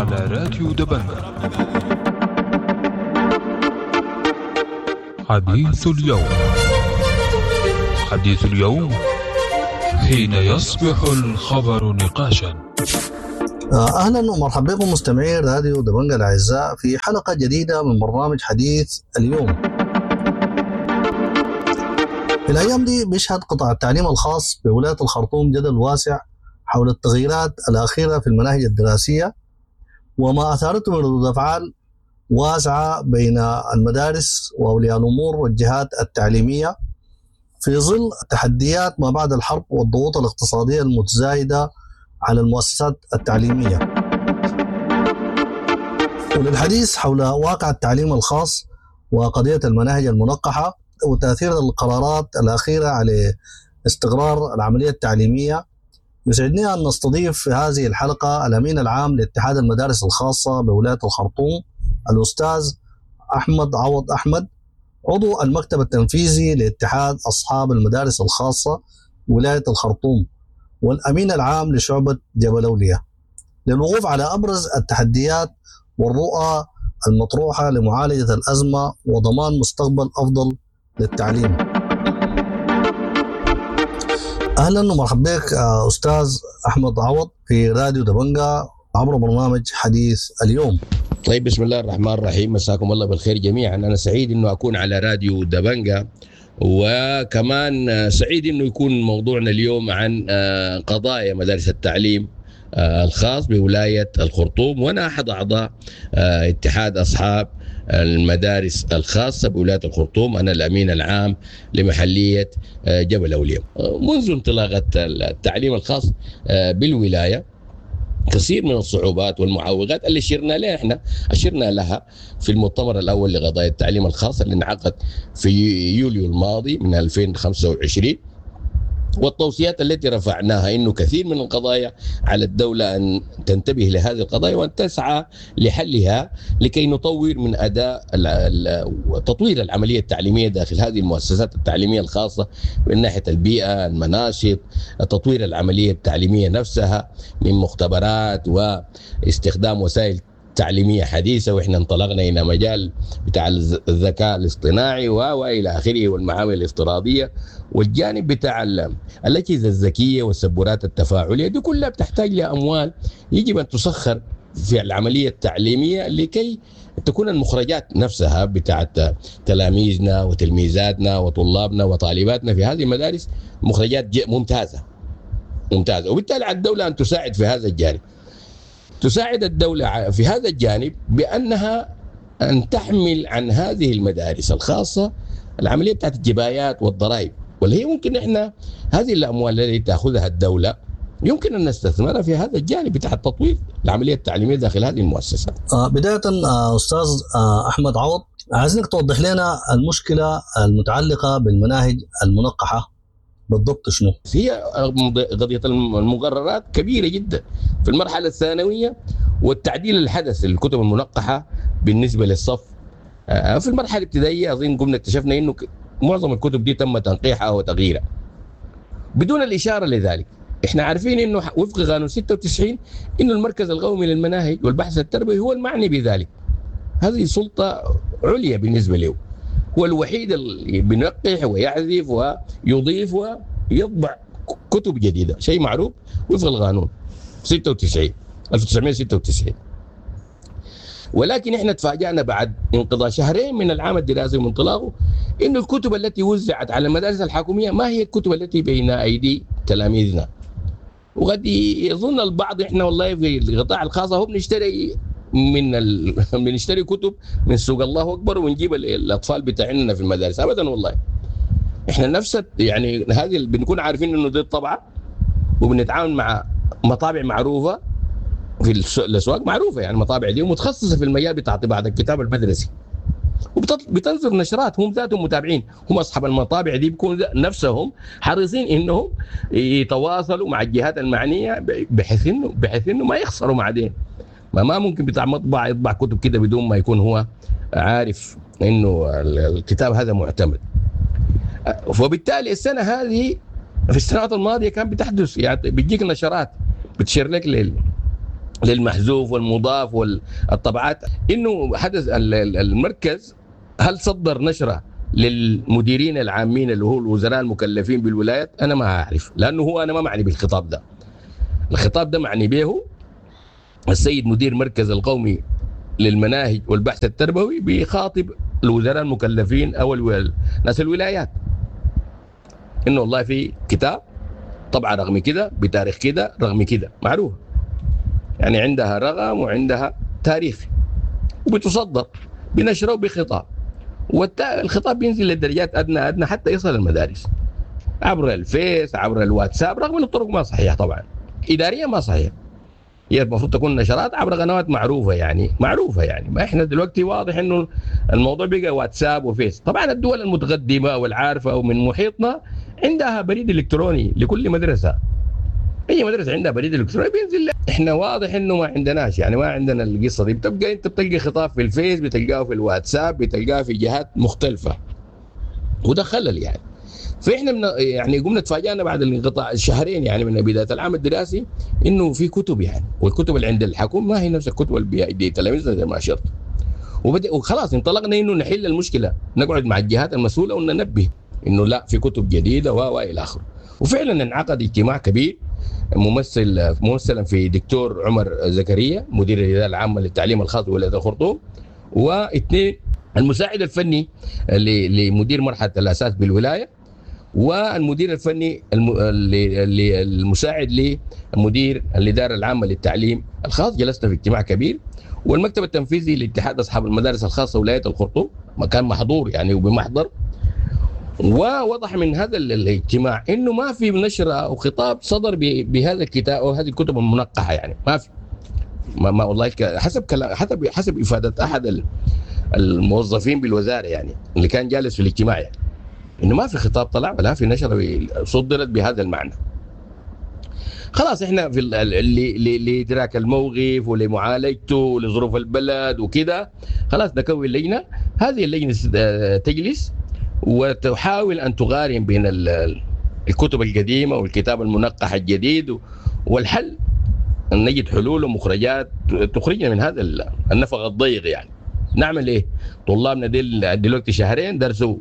على راديو دبنجة. حديث اليوم، حديث اليوم حين يصبح الخبر نقاشا. اهلا ومرحبا بكم مستمعي راديو دبنجة الاعزاء في حلقة جديدة من برنامج حديث اليوم. في الايام دي بيشهد قطاع التعليم الخاص بولاية الخرطوم جدل واسع حول التغييرات الاخيرة في المناهج الدراسية وما اثارته من ردود افعال واسعة بين المدارس واولياء الامور والجهات التعليمية في ظل تحديات ما بعد الحرب والضغوط الاقتصادية المتزايدة على المؤسسات التعليمية. وللحديث حول واقع التعليم الخاص وقضية المناهج المنقحه وتاثير القرارات الاخيرة على استقرار العملية التعليمية، يسعدني ان نستضيف في هذه الحلقة الامين العام لاتحاد المدارس الخاصة بولاية الخرطوم الاستاذ احمد عوض احمد، عضو المكتب التنفيذي لاتحاد اصحاب المدارس الخاصة ولاية الخرطوم والامين العام لشعبه جبل اولياء، للوقوف على ابرز التحديات والرؤى المطروحة لمعالجة الازمة وضمان مستقبل افضل للتعليم. اهلا ومرحبا بك استاذ احمد عوض في راديو دبنجا عبر برنامج حديث اليوم. طيب، بسم الله الرحمن الرحيم، مساكم الله بالخير جميعا. انا سعيد انه اكون على راديو دبنجا، وكمان سعيد انه يكون موضوعنا اليوم عن قضايا مدارس التعليم الخاص بولاية الخرطوم، وانا احد اعضاء اتحاد اصحاب المدارس الخاصة بولاية الخرطوم، انا الامين العام لمحليه جبل اولياء. منذ انطلاقة التعليم الخاص بالولايه كثير من الصعوبات والمعوقات اللي اشرنا لها، احنا اشرنا لها في المؤتمر الاول لقضايا التعليم الخاص اللي انعقد في يوليو الماضي من 2025، والتوصيات التي رفعناها انه كثير من القضايا على الدولة ان تنتبه لهذه القضايا وان تسعى لحلها لكي نطور من اداء تطوير العملية التعليمية داخل هذه المؤسسات التعليمية الخاصة من ناحية البيئة، المناشط، تطوير العملية التعليمية نفسها من مختبرات واستخدام وسائل تعليمية حديثه، واحنا انطلقنا الى مجال بتاع الذكاء الاصطناعي والى اخره والمعامل الافتراضية والجانب بتاع الاجهزة الذكية والسبورات التفاعليه، دي كلها بتحتاج لاموال يجب ان تسخر في العملية التعليمية لكي تكون المخرجات نفسها بتاعت تلاميذنا وتلميذاتنا وطلابنا وطالباتنا في هذه المدارس مخرجات ممتازة ممتازة، وبالتالي على الدولة ان تساعد في هذا الجانب. تساعد الدولة في هذا الجانب بأنها أن تحمل عن هذه المدارس الخاصة العملية بتاعت الجبايات والضرائب، واللي هي ممكن إحنا هذه الأموال التي تأخذها الدولة يمكن أن نستثمرها في هذا الجانب بتاع التطوير العملية التعليمية داخل هذه المؤسسات. بداية أستاذ أحمد عوض، عايزينك توضح لنا المشكلة المتعلقة بالمناهج المنقحة بالضبط شنو؟ هي قضية المقررات كبيرة جدا في المرحلة الثانوية، والتعديل الحدث للكتب المنقحة بالنسبة للصف في المرحلة الابتدائية. أظن قمنا اكتشفنا إنه معظم الكتب دي تم تنقيحها وتغييرها بدون الإشارة لذلك. احنا عارفين انه وفق قانون 96 انه المركز القومي للمناهج والبحث التربوي هو المعني بذلك. هذه سلطة عليا بالنسبة له، هو الوحيد اللي بينقح ويعزف ويضيف ويطبع كتب جديدة، شيء معروف وفق القانون 96 1996. ولكن احنا تفاجأنا بعد انقضاء شهرين من العام الدراسي وانطلاقه انه الكتب التي وزعت على المدارس الحكومية ما هي الكتب التي بين ايدي تلاميذنا. وقد يظن البعض احنا والله في القطاع الخاص هو بنشتري من بنشتري كتب من سوق الله اكبر ونجيب الاطفال بتاعنا في المدارس. ابدا والله، احنا نفس يعني هذه بنكون عارفين انه دي الطبعة، وبنتعامل مع مطابع معروفة في الاسواق معروفة، يعني المطابع دي ومتخصصه في المجال بتاع طباعه الكتاب المدرسي، وبتنزل نشرات هم ذاتهم متابعين، هم اصحاب المطابع دي بيكونوا نفسهم حريصين انهم يتواصلوا مع الجهات المعنية بحيث انه ما يخسروا بعدين. ما ممكن بتاع مطبع يطبع كتب كده بدون ما يكون هو عارف انه الكتاب هذا معتمد. وبالتالي السنة هذه في السنوات الماضية كان بتحدث، يعني بتجيك نشرات بتشير لك للمحذوف والمضاف والطبعات، انه حدث المركز هل صدر نشره للمديرين العامين اللي هو الوزراء المكلفين بالولايات؟ انا ما اعرف، لانه هو انا ما معني بالخطاب ده. الخطاب ده معني به السيد مدير مركز القومي للمناهج والبحث التربوي، بيخاطب الوزراء المكلفين او ناس الولايات انه والله في كتاب طبعا رغم كده بتاريخ كده رغم كده معروف، يعني عندها رقم وعندها تاريخ وبتصدر بنشره وبخطاب، والخطاب بينزل للدرجات ادنى ادنى حتى يصل المدارس عبر الفيس عبر الواتساب، رغم ان الطرق ما صحيحه طبعا اداريا ما صحيحه، هي المفروض تكون نشرات عبر قنوات معروفة يعني، معروفة يعني. ما احنا دلوقتي واضح انه الموضوع بقى واتساب وفيس. طبعا الدول المتقدمة والعارفه ومن محيطنا عندها بريد الكتروني لكل مدرسه، اي مدرسه عندها بريد الكتروني بينزل. احنا واضح انه ما عندناش يعني، ما عندنا القصة دي. بتبقى انت بتلقى خطاب في الفيس، بتلقاه في الواتساب، بتلقاه في جهات مختلفة، وده خلل يعني. فاحنا يعني قمنا تفاجئنا بعد الانقطاع الشهرين يعني من بداية العام الدراسي انه في كتب يعني، والكتب اللي عند الحكومة ما هي نفس الكتب اللي بيدي تلاميذنا زي ما اشرت. وخلاص انطلقنا انه نحل المشكلة، نقعد مع الجهات المسؤولة وننبه انه لا في كتب جديدة و الى اخره. وفعلا انعقد اجتماع كبير ممثلا في دكتور عمر زكريا مدير الادارة العامة للتعليم الخاص بولاية الخرطوم، واثنين المساعد الفني لمدير مرحلة الاساس بالولايه، والمدير الفني المساعد لمدير الادارة العامة للتعليم الخاص. جلسنا في اجتماع كبير، والمكتب التنفيذي لاتحاد اصحاب المدارس الخاصة ولاية الخرطوم مكان محضور يعني وبمحضر. ووضح من هذا الاجتماع انه ما في نشره او خطاب صدر بهذا الكتاب او هذه الكتب المنقحه يعني، ما في ما والله حسب كلام، حسب افاده احد الموظفين بالوزارة يعني اللي كان جالس في الاجتماع يعني، انه ما في خطاب طلع ولا في نشره صدرت بهذا المعنى. خلاص احنا في لادراك الموقف ولمعالجته ولظروف البلد وكده، خلاص نكون لجنة، هذه اللجنة تجلس وتحاول ان تقارن بين الكتب القديمة والكتاب المنقح الجديد، والحل ان نجد حلول ومخرجات تخرجنا من هذا النفق الضيق يعني. نعمل ايه؟ طلابنا ديل دلوقتي شهرين درسوا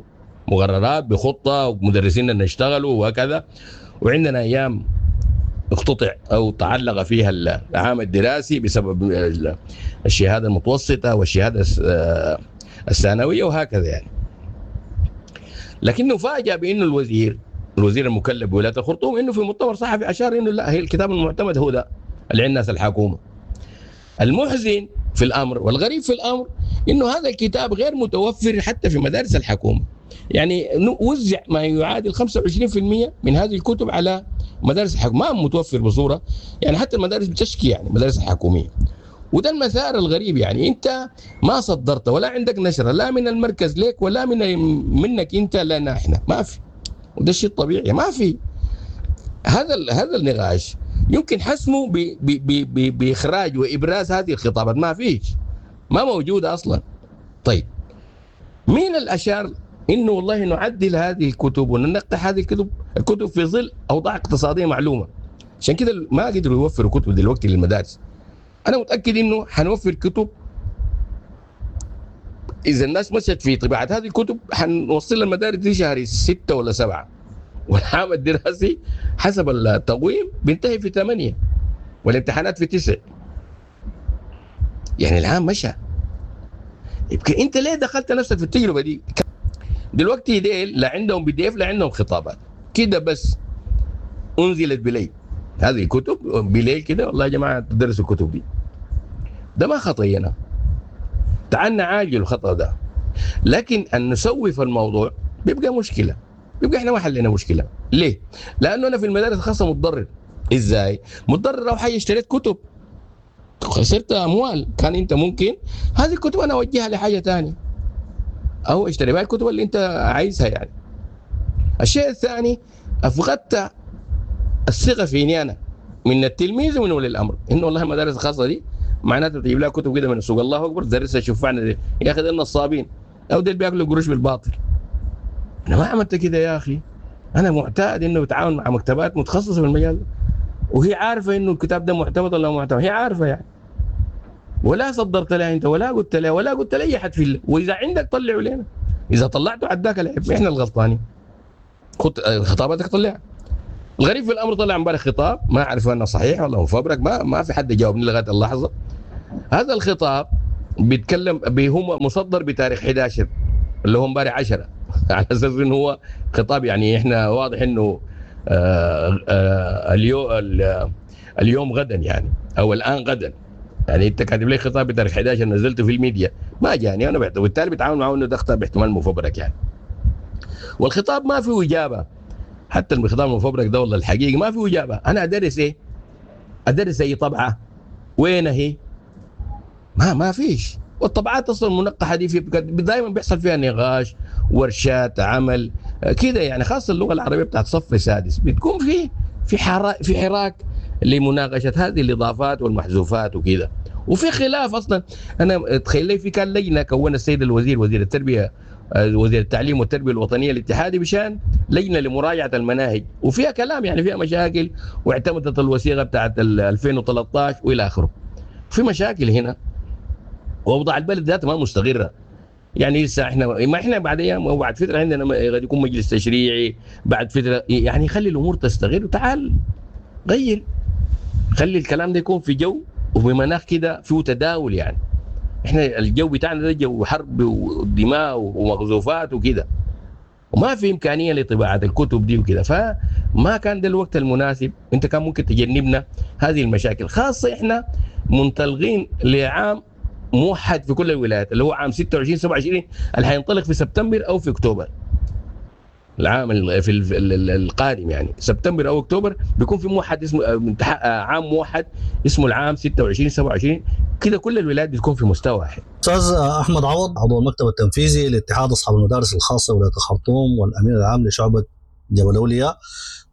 مقررات بخطه ومدرسيننا اشتغلوا وهكذا، وعندنا ايام اقتطع او تعلق فيها العام الدراسي بسبب الشهادة المتوسطة والشهادة الثانوية وهكذا يعني. لكنه فاجأ بانه الوزير المكلف بولاية الخرطوم انه في مؤتمر صحفي اشار انه لا، هي الكتاب المعتمد هو ده اللي عند الناس الحكومة. المحزن في الامر والغريب في الامر انه هذا الكتاب غير متوفر حتى في مدارس الحكومة. يعني وزع ما يعادل 25% من هذه الكتب على مدارس الحكومة، ما متوفر بصورة يعني، حتى المدارس بتشكي يعني المدارس الحكومية. وده المسار الغريب يعني، انت ما صدرت ولا عندك نشره لا من المركز لك ولا من منك انت لنا احنا، ما في. وده الشيء الطبيعي، ما في. هذا النقاش يمكن حسمه باخراج وابراز هذه الخطابات، ما فيش، ما موجودة اصلا. طيب مين الاشار انه والله نعدل هذه الكتب وننقح هذه الكتب في ظل اوضاع اقتصادية معلومة؟ عشان كده ما قدروا يوفروا كتب دلوقتي للمدارس. انا متاكد انه حنوفر كتب اذا الناس مشت في طباعه هذه الكتب، حنوصل المدارس دي شهر 6 ولا 7، والعام الدراسي حسب التقويم بينتهي في 8 والامتحانات في 9، يعني العام مشى. يبقى انت ليه دخلت نفسك في التجربة دي؟ دلوقتي ديل لا عندهم PDF لا عندهم خطابات كده، بس انزلت بليل هذه الكتب بليل كده، والله يا جماعة تدرسوا الكتب دي. ده ما خطينا، تعال نعالج الخطا ده، لكن ان نسوف الموضوع بيبقى مشكلة، بيبقى احنا ما حلينا مشكلة. ليه؟ لانه انا في المدارس الخاصة متضرر. ازاي؟ متضرر لو حاجة اشتريت كتب خسرت اموال، كان انت ممكن هذه الكتب انا اوجهها لحاجة ثانية او اشتري بها الكتب اللي انت عايزها يعني. الشيء الثاني افقدت الثقة فيني انا من التلميذ ومن ولي الامر، انه والله المدارس الخاصة دي معناته تجيب لها كتب كده من السوق، الله اكبر تدرسها شوفعنا دي يا اخي، دول نصابين او دول بياكلوا قروش بالباطل. انا ما عملت كده يا اخي، انا معتاد انه بتعاون مع مكتبات متخصصة في المجال ده. وهي عارفه انه الكتاب ده معتمد ولا معتمد، هي عارفه يعني. ولا صدرت لها انت ولا قلت لها ولا قلت لاي حد في واذا عندك طلعوا لنا، اذا طلعته عداك العيب، احنا الغلطانين. خطاباتك طلعها. الغريب في الامر طلع امبارح خطاب ما اعرف انه صحيح ولا مفبرك، ما في حد جاوبني لغاية اللحظة. هذا الخطاب بيتكلم هو مصدر بتاريخ 11 اللي هو امبارح 10 على اساس انه هو خطاب، يعني احنا واضح انه اليوم غدا يعني، او الان غدا. يعني انت كاتب لي خطاب بتاريخ 11 نزلته في الميديا، ما جاني انا، وبالتالي بتعامل معه انه ده خطاب باحتمال مفبرك يعني. والخطاب ما فيه اجابه، حتى الخطاب المفبرك ده والله الحقيقي ما فيه اجابه. انا ادرس ايه؟ ادرس اي طبعه؟ وين هي؟ ما فيش. والطبعات اصلا المنقحه دي دائما بيحصل فيها نقاش، ورشات عمل كده يعني، خاصة اللغة العربية بتاعت صف سادس بتكون في حراك لمناقشة هذه الاضافات والمحذوفات وكده، وفي خلاف اصلا. انا تخيل لي في كان لجنة كونها السيد الوزير، وزير التربية، وزير التعليم والتربية الوطنية الاتحادي، بشان لجنة لمراجعه المناهج، وفيها كلام يعني، فيها مشاكل، واعتمدت الوثيقة بتاعت 2013 والى اخره. في مشاكل هنا، واوضاع البلد ذاتها ما مستقره يعني. لسه احنا ما احنا بعد ايام او بعد فترة عندنا قد يكون مجلس تشريعي بعد فترة يعني. خلي الامور تستقر وتعال غير، خلي الكلام ده يكون في جو وبمناخ كده فيه تداول يعني. احنا الجو بتاعنا ده جو حرب ودماء ومغزوفات وكده، وما في امكانية لطباعه الكتب دي وكده، فما كان ده الوقت المناسب. انت كان ممكن تجنبنا هذه المشاكل، خاصة احنا منطلقين لعام موحد في كل الولايات اللي هو عام 26 27 اللي حينطلق في سبتمبر او في اكتوبر. العام في القادم يعني سبتمبر او اكتوبر بيكون في موحد اسمه عام موحد اسمه العام 26 27 كده، كل الولايات بتكون في مستوى واحد. استاذ احمد عوض، عضو المكتب التنفيذي لاتحاد اصحاب المدارس الخاصة ولاية الخرطوم والامين العام لشعبه جبل اولياء،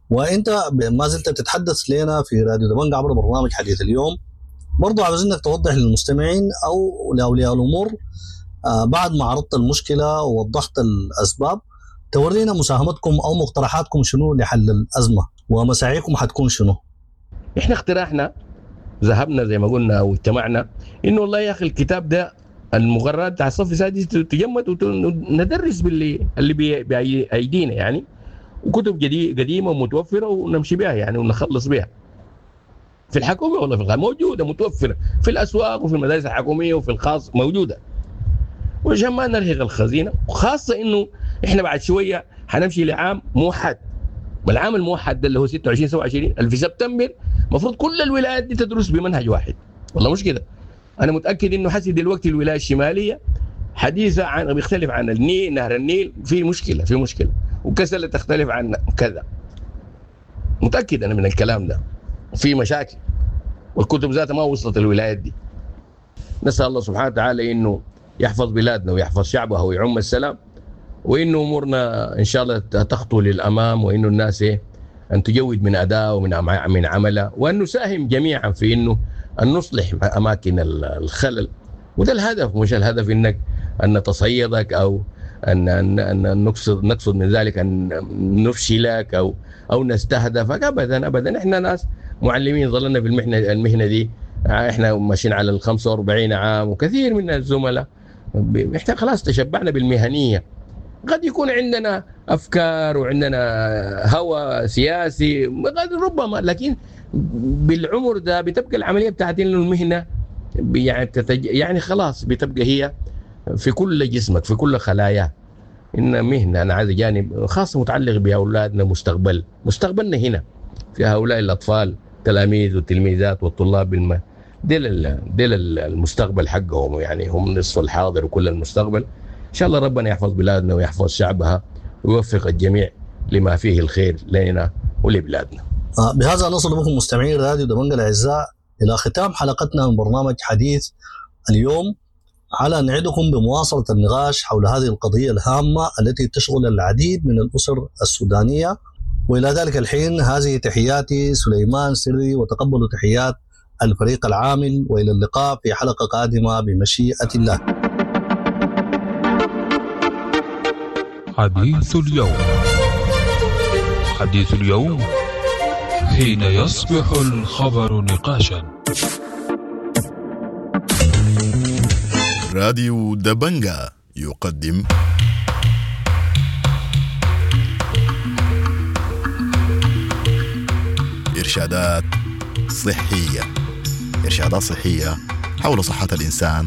وانت ما زلت تتحدث لنا في راديو دبنجا عبر برنامج حديث اليوم، برضو عاوزينك توضح للمستمعين او لاولياء الامور بعد ما عرضت المشكلة ووضحت الاسباب، تورينا مساهمتكم او مقترحاتكم شنو لحل الازمة ومساعيكم حتكون شنو؟ احنا اقتراحنا ذهبنا زي ما قلنا واجتمعنا انه والله يا اخي الكتاب ده المقررات بتاع الصف السادس تجمد وندرس باللي اللي بايدينا يعني، وكتب قديمة ومتوفره ونمشي بها يعني ونخلص بها. في الحكومة ولا في الخاص موجودة متوفرة في الاسواق وفي المدارس الحكومية وفي الخاص موجودة. وعشان ما نرهق الخزينة، وخاصة انه احنا بعد شوية حنمشي لعام موحد، والعام الموحد ده اللي هو 26 27 اللي في سبتمبر المفروض كل الولايات دي تدرس بمنهج واحد، والله مش كده؟ انا متاكد انه حسي دلوقتي الولاية الشمالية حديثه عن بيختلف عن النيل، نهر النيل في مشكلة، في مشكلة، وكسلة تختلف عن كذا. متاكد انا من الكلام ده، في مشاكل، والكتب ذاتها ما وصلت الولايات دي. نسال الله سبحانه وتعالى انه يحفظ بلادنا ويحفظ شعبها ويعم السلام، وانه امورنا ان شاء الله تخطو للامام، وانه الناس ان تجود من اداء ومن من عملها، وان نساهم جميعا في انه ان نصلح اماكن الخلل. وده الهدف، مش الهدف انك ان نتصيدك او ان ان ان نقصد من ذلك ان نفشلك او نستهدفك، ابدا ابدا. احنا ناس معلمين ظلنا في المهنة دي، احنا ماشيين على ال 45 عام، وكثير من الزملاء احنا خلاص تشبعنا بالمهنيه. قد يكون عندنا افكار وعندنا هوى سياسي قد ربما، لكن بالعمر ده بتبقى العملية بتاعت انه المهنة يعني خلاص بتبقى هي في كل جسمك في كل خلايا. ان مهنة انا عايز جانب خاص متعلق باولادنا، مستقبلنا هنا في هؤلاء الاطفال، التلاميذ والتلميذات والطلاب، ديل المستقبل حقهم يعني، هم نصف الحاضر وكل المستقبل. ان شاء الله ربنا يحفظ بلادنا ويحفظ شعبها ويوفق الجميع لما فيه الخير لنا ولبلادنا. بهذا نصل بكم مستمعين راديو دبنجا الاعزاء الى ختام حلقتنا من برنامج حديث اليوم، على نعدكم بمواصله النقاش حول هذه القضية الهامة التي تشغل العديد من الاسر السودانية. والى ذلك الحين هذه تحياتي سليمان سري، وتقبلوا تحيات الفريق العامل، والى اللقاء في حلقة قادمة بمشيئة الله. حديث اليوم، حديث اليوم حين يصبح الخبر نقاشا. راديو دبنجا يقدم إرشادات صحية. إرشادات صحية حول صحة الإنسان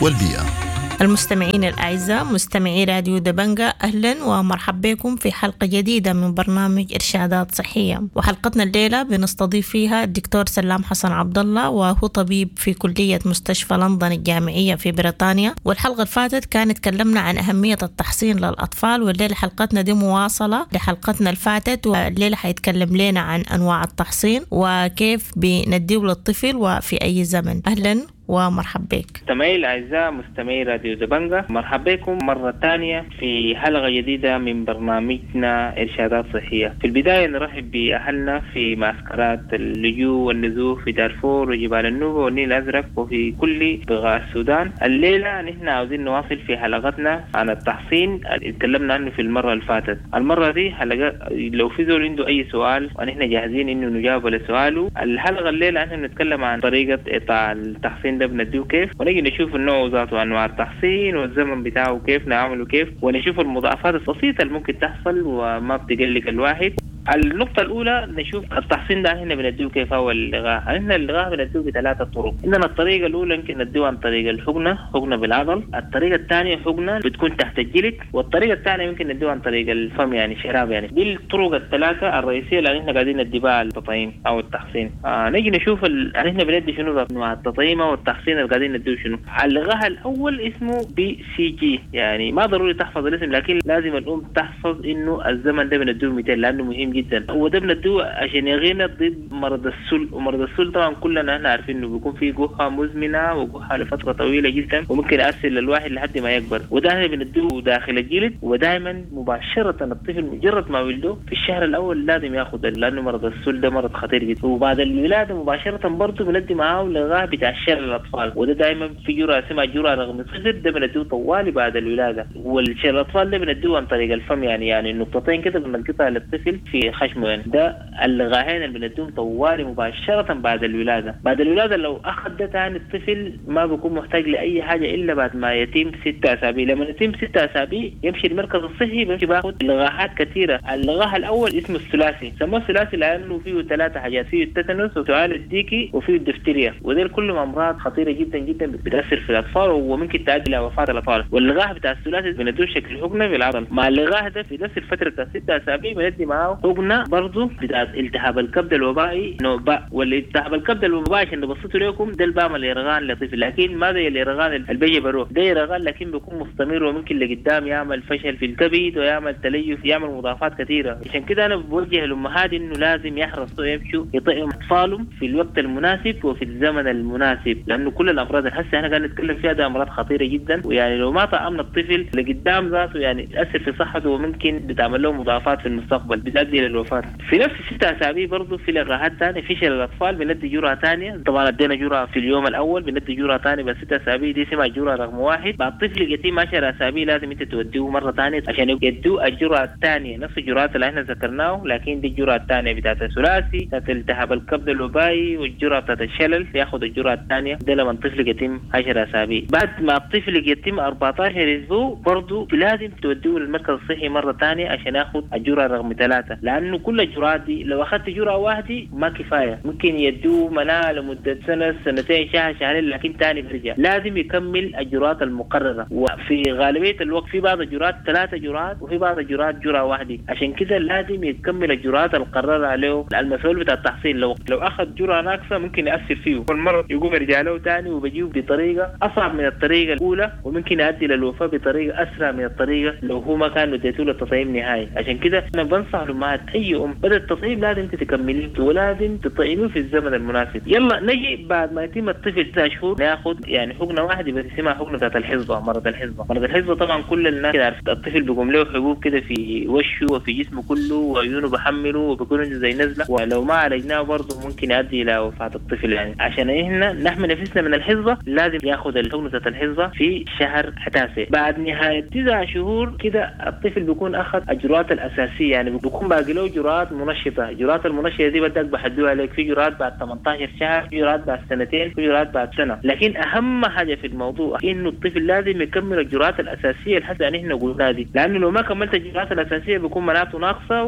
والبيئة. المستمعين الأعزاء، مستمعي راديو دبنجا، أهلا ومرحبا بكم في حلقة جديدة من برنامج إرشادات صحية. وحلقتنا الليلة بنستضيف فيها الدكتور سلام حسن عبد الله، وهو طبيب في كلية مستشفى لندن الجامعية في بريطانيا. والحلقة اللي فاتت كانت تكلمنا عن أهمية التحصين للأطفال، والليلة حلقتنا دي مواصلة لحلقتنا اللي فاتت، والليلة حيتكلم لنا عن أنواع التحصين وكيف بنديه للطفل وفي أي زمن. أهلا ومرحبا بك. مستمعي الأعزاء، مستمعي راديو دبنجا، مرحبا بكم مرة ثانية في حلقة جديدة من برنامجنا إرشادات صحية. في البداية نرحب بأهلنا في معسكرات اللجوء والنزوح في دارفور وجبال النوبة والنيل الأزرق وفي كل بقاع السودان. الليلة نحن عاوزين نواصل في حلقتنا عن التحصين اللي تكلمنا عنه في المرة اللي فاتت. المرة دي حلقة لو في زول عنده أي سؤال ونحن جاهزين إنه نجاوب على سؤاله. الحلقة الليلة نحن بنتكلم عن طريقة إعطاء التحصين ده بنديه كيف، ونجي نشوف النوع ذاته، انواع التحصين والزمن بتاعه كيف نعمله كيف، ونشوف المضاعفات البسيطة اللي ممكن تحصل وما بتقلق الواحد. النقطة الأولى نشوف التحصين ده هنا بنديه كيف هو اللقاح. هنا اللقاح بنديه بثلاثة طرق. عندنا الطريقة الأولى يمكن نديه عن طريق الحقنة، حقنة بالعضل. الطريقة الثانية حقنة بتكون تحت الجلد، والطريقة الثانية يمكن نديه عن طريق الفم، يعني شراب. يعني دي الطرق الثلاثة الرئيسية اللي احنا قاعدين ندي بها التطعيم أو التحصين. نيجي نشوف احنا بندي شنو أنواع التطعيم أو التحصين اللي قاعدين نديه شنو. اللقاح الأول اسمه BCG، يعني ما ضروري تحفظ الاسم، لكن لازم الأم تحفظ إنه الزمن ده بنديه 200 لأنه مهم جدا. وده بندوه عشان يغينا ضد مرض السل، ومرض السل طبعا كلنا احنا عارفين انه بيكون فيه جحة مزمنة وجحه لفترة طويلة جدا وممكن يأثر للواحد لحد ما يكبر. وده احنا بندوه داخل الجلد، ودائما مباشرة الطفل مجرد ما ولده في الشهر الاول لازم ياخذ، لانه مرض السل ده مرض خطير جدا. وبعد الولادة مباشرة برضه بندي معاه لقاح بتاع شلل الاطفال، وده دائما في جرعة اسمها جرعة رقم 0، ده بنديه طوالي بعد الولادة. والشلل الاطفال ده بنديه عن طريق الفم، يعني النقطتين كده بنلقطها للطفل في خشمه. يعني ده اللقاحين اللي بنديهم طوالي مباشرة بعد الولادة. بعد الولادة لو أخذ ده تاني الطفل ما بيكون محتاج لأي حاجة إلا بعد ما يتم 6 أسابيع. لما يتم 6 أسابيع يمشي المركز الصحي، بيمشي باخد لقاحات كثيرة. اللقاح الأول اسمه الثلاثي، سموه الثلاثي لأنه فيه 3 حاجات، فيه التتنس وسعال الديكي وفيه الدفتيريا، وده كلهم أمراض خطيرة جدا جدا بتأثر في الأطفال وممكن تؤدي إلى وفاة الأطفال. واللقاح بتاع الثلاثي بنديه شكل حقنة بالعضل. مع اللقاح ده في نفس الفترة بتاع 6 أسابيع بندي معاه حقنة برضه بتاعت التهاب الكبد الوبائي نوع باء. والالتهاب الكبد الوبائي عشان نبسطه لكم، ده اللي بعمل يرغان لطفل، لكن ما زي اليرغان اللي بيجي بروح، ده يرغان لكن بيكون مستمر وممكن لقدام يعمل فشل في الكبد ويعمل تليف، يعمل مضاعفات كثيرة. عشان كده انا بوجه الامهات انه لازم يحرصوا يمشوا يطعموا اطفالهم في الوقت المناسب وفي الزمن المناسب، لانه كل الامراض اللي هسه احنا قاعدين نتكلم فيها ده امراض خطيرة جدا، ويعني لو ما طعمنا الطفل لقدام ذاته يعني تاثر في صحته وممكن بتعمل له مضاعفات في المستقبل بتؤدي للوفاه. في نفس 6 أسابيع برضه في لقاحات ثانية في شلل الاطفال بندي جرعة ثانية. طبعا ادينا جرعة في اليوم الاول، بندي جرعة ثانية بس 6 أسابيع، دي اسمها جرعة رقم 1. بعد طفل يتم 10 أسابيع لازم انت توديه مرة ثانية عشان يدوه الجرعة الثانية، نفس الجرعات اللي احنا ذكرناه، لكن دي الجرعة الثانية بتاعت الثلاثي بتاعت التهاب الكبد الوبائي والجرعه بتاعت الشلل، ياخذ الجرعة الثانية ده لما الطفل يتم 10 أسابيع. بعد ما الطفل يتم 14 اسبوع برضه لازم توديه للمركز الصحي مرة ثانية عشان ياخذ الجرعة رقم 3، لانه كل الجرعات دي لو اخذت جرعة واحدة ما كفاية، ممكن يدوه مناعة لمدة سنة سنتين شهر شهرين، لكن ثاني بيرجع لازم يكمل الجرعات المقررة. وفي غالبية الوقت في بعض الجرعات 3 جرعات وفي بعض الجرعات جرعة واحدة، عشان كده لازم يكمل الجرعات المقررة عليه المسؤول بتاع التحصين. لو اخذ جرعة ناقصه ممكن ياثر فيه والمرض يقوم يرجع له ثاني وبيجيه بطريقة اصعب من الطريقة الاولى، وممكن يؤدي للوفاه بطريقة اسرع من الطريقة لو هو ما كان اديته له التطعيم نهائي. عشان كده انا بنصح الامهات اي ام بدأ التطعيم لازم انت تكمليه ولازم تطعميه في الزمن المناسب. يلا نجي بعد ما يتم الطفل 9 شهور ناخذ يعني حقنه واحدة بس اسمها حقنه بتاعت الحصبة، مرض الحصبة. مرض الحصبة طبعا كل الناس كده عارف، الطفل بيقوم له حبوب كده في وشه وفي جسمه كله وعيونه بحمله وبيكون عنده زي نزله، ولو ما عالجناه برضه ممكن يؤدي الى وفاه الطفل. يعني عشان احنا نحمي نفسنا من الحصبة لازم ياخذ الحقنة بتاعت الحصبة في شهر 9. بعد نهاية 9 شهور كده الطفل بيكون اخذ الجرعات الاساسية، يعني بيكون بعد باقي له جرعات منشطه. جرعات المنشطه دي بدك بحدوها لك، في جرعات بعد 18 شهر، في جرعات بعد سنتين، في جرعات بعد سنة. لكن اهم حاجة في الموضوع انه الطفل لازم يكمل الجرعات الاساسية اللي حتى نحن قلناها دي، لانه لو ما كملت الجرعات الاساسية بيكون مناعته ناقصه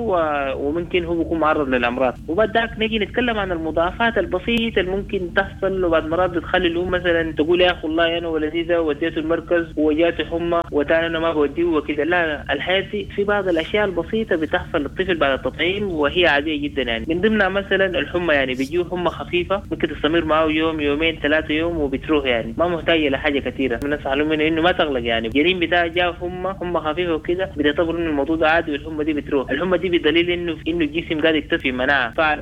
وممكن هو بيكون معرض للامراض. وبعد ذاك نجي نتكلم عن المضاعفات البسيطة اللي ممكن تحصل، وبعد مرات بتخلي الام مثلا تقول يا اخي والله انا ولدي ده وديته المركز وجاته حمى وتاني انا ما بوديه وكده. لا، الحياة دي في بعض الاشياء البسيطة بتحصل للطفل بعد التطعيم وهي عادية جدا يعني، من ضمنها مثلا الحمى، يعني بيجيه حمى خفيفة ممكن تستمر معه يوم يومين 3 يوم وبتروح، يعني ما محتاجه لحاجة كثيرة. بنصح لهم انه ما تغلق، يعني الجنين بتاعه جاه حمى خفيفة وكده بتعتبر انه الموضوع ده عادي والحمى دي بتروح. الحمى دي بدليل انه الجسم قاعد يكتسب مناعة فعل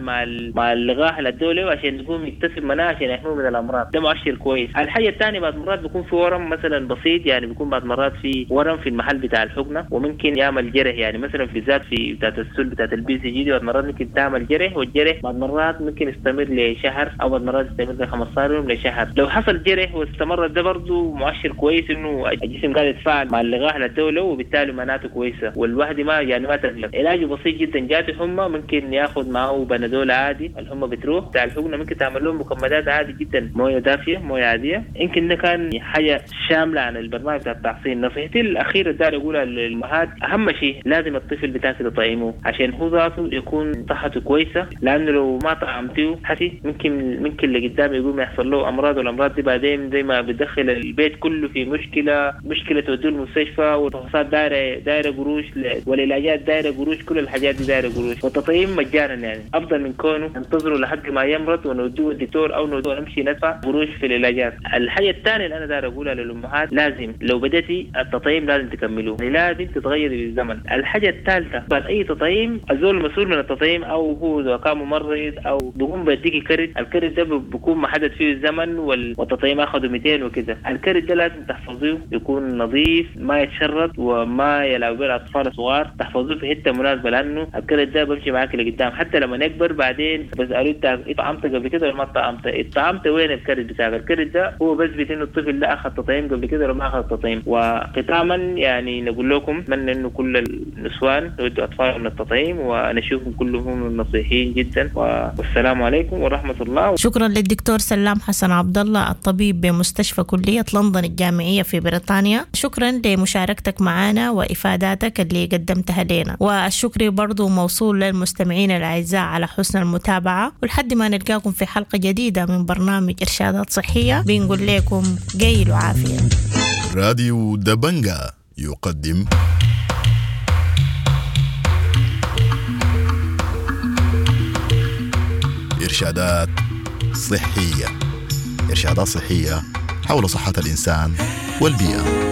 مع اللقاح اللي ادوه عشان يقوم يكتسب مناعة عشان يحميه من الامراض، ده مؤشر كويس. الحاجة الثانية بعد مرات بيكون في ورم مثلا بسيط، يعني بيكون بعد مرات في ورم في المحل بتاع الحقنة وممكن يعمل جرح، يعني مثلا في ذات في بتاعت السل بتاعت ال BCG دي بعد مرات ممكن تعمل جرح، والجرح بعد مرات ممكن يستمر لشهر او بعد مرات يستمر ل 15 يوم لشهر. لو حصل جرح واستمر ده برضه مؤشر كويس انه الجسم قاعد يتفاعل مع اللقاح اللي ادوه وبالتالي مناعته كويسة، والواحد ما يعني ما تقلق. علاجه بسيط جدا، جاته حمى ممكن ياخذ معه بنادول عادي، الحمى بتروح. بتاع الحقنة ممكن تعمل لهم مكمدات عادي جدا، مويه دافيه مويه عادية. يمكن ده كان حاجة شاملة عن البرنامج بتاع التحصين. نصيحتي الاخيرة داير اقولها للامهات، اهم شيء لازم الطفل بتاعك تطعيمه عشان هو ذاته يكون صحته كويسة، لانه لو ما طعمتيه حسي ممكن لقدام يقوم يحصل له امراض، والامراض دي بعدين زي ما بتدخل البيت كله في مشكلة توديه المستشفى، والفحوصات دايرة قروش، والعلاجات دايرة قروش، كل الحاجات دي دايرة قروش. والتطعيم مجانا يعني افضل من كونه ننتظره لحد ما يمرض ونوديه الدكتور او نوديه نمشي ندفع قروش في العلاجات. الحاجة الثانية اللي انا داير اقولها للامهات، لازم لو بدأتي التطعيم لازم تكملوه، يعني لازم تتغيري بالزمن. الحاجة الثالثة بعد اي تطعيم الزول المسؤول من التطعيم او هو اذا كان ممرض او بيقوم بيديكي كرت، الكرت ده بيكون محدد فيه الزمن والتطعيم اخذه 200 وكده. الكرت ده لازم تحفظيه، يكون نظيف ما يتشرط وما يلعب به الاطفال الصغار، تحفظوه في حتة مناسبة لانه الكرت ده بمشي معاك لقدام حتى لما نكبر. بعدين بسالوه انت طعمت قبل كده ولا ما طعمت؟ طعمت وين الكرت بتاعك؟ الكرت ده هو بثبت انه الطفل ده اخذ تطعيم قبل كده ولا ما اخذ تطعيم. وختاما يعني نقول لكم اتمنى انه كل النسوان يودوا اطفالهم للتطعيم ونشوفهم كلهم نصيحين جدا، والسلام عليكم ورحمة الله. شكرا للدكتور سلام حسن عبد الله الطبيب بمستشفى كليه لندن الجامعية في بريطانيا، شكرا لمشاركتك معنا وافاداتك اللي قدمتها لنا، والشكر برضو موصول للمستمعين الاعزاء على حسن المتابعة، ولحد ما نلقاكم في حلقة جديدة من برنامج ارشادات صحية بنقول لكم قيل وعافيه. راديو دبنجا يقدم إرشادات صحية، إرشادات صحية حول صحة الإنسان والبيئة.